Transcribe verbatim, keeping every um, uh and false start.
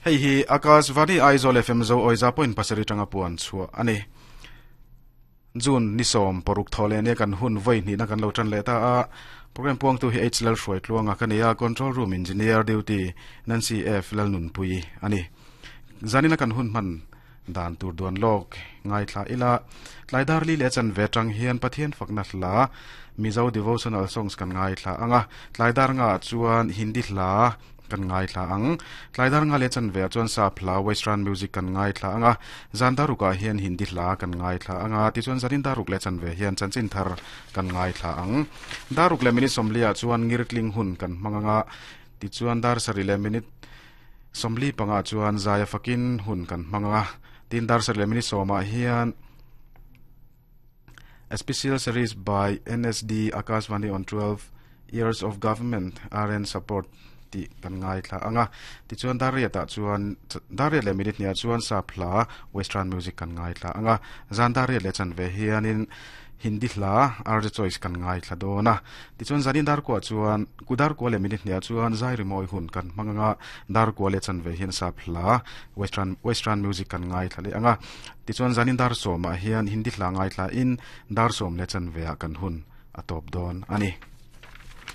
Hei hi Akashvani Aizawl F M zo oiza point pasari tanga puan chua ani. June nisom poruk thole ne kan hun voi ni na kan lo tran le ta a program puang tu hi H L hruai tluanga kania control room engineer duty Nancy F Lalnun pui ani. Zanina kan hun man dan tur duan lok ngai thla ila tlaidar li le chan ve tang hian Pathian fakna hla Mizo devotional songs kan ngai thla anga tlaidar nga chuan Hindi hla kan ngai thla ang tlaidar nga le chan ve chuan sa phla western music kan ngai thla anga zandaruka hian Hindi hla kan ngai thla anga ti chuan zanin daruk le chan ve hian chanchin thar kan ngai thla ang daruk le minute somlia chuan ngirtling hun kan manganga ti chuan dar sari le minute somli panga chuan zaya fakin hun kan manganga tin dar sari le minute soma hian a special series by N S D Akashvani on twelve years of government R N support ti kan ngai thla anga ti chuan daria ta chuan daria le minute nia chuan sa phla western music kan ngai thla anga zan daria le chan ve hianin Hindi hla R J choice kan ngai thla dona ti chuan zanin dar ko chuan kudar ko le minute nia chuan zai ri moi hun kan manganga dar ko le chan ve hian sa phla western western music kan ngai thla le anga ti chuan zanin dar soma hian Hindi hla ngai thla in dar som le chan ve a kan hun atop don ani.